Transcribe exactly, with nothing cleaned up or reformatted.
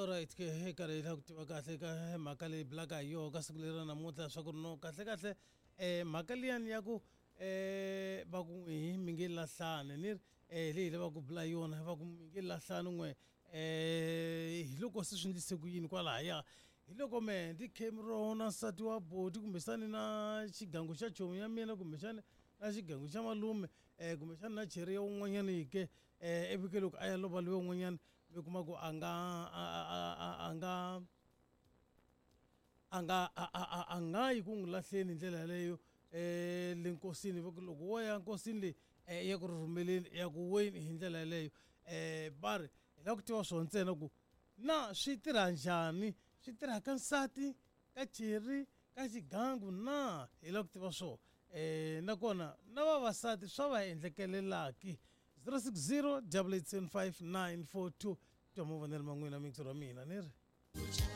Alright ke hi karhi hi lava ku tiva kahle ka mhaka leyi bulaka hi yoho ka siku leri ra namuntlha swa ku ri no kahle kahle um mhaka liyani ya ku um va ku n'wi mi nge lahlani ni ri um leyi hi lavaka ku bula yona va ku mi nge lahlani n'we um hi loko se swi endlise ku yini kwalahaya hi loko mehe ndi khe na nsati wa boti kumbexani na xigangu xa chomi ya mina kumbexani na xigangu xa malume um kumbexani na cheri ya un'wanyani ke um ivi ke loko a ya lova loyi un'wanyana mi kuma ku a nga a a a nga a nga a a a nga yi ku n'wi lahleni hi ndlela yaleyo um le nkosini va ku loko wo ya nkosini leyi um ya ku rhurhumeleni ya ku weni hi ndlela yaleyo um va ri hi lava ku tiva swona ntsena ku na swi tirha njhani swi tirha ka nsati ka cheri ka xigangu na hi lava ku tiva swona um nakona na vavasati swa va endlekelelaki zero six zero double eight seven five nine four two twa mavonelo ma n'wina mixo ra mina ni ri.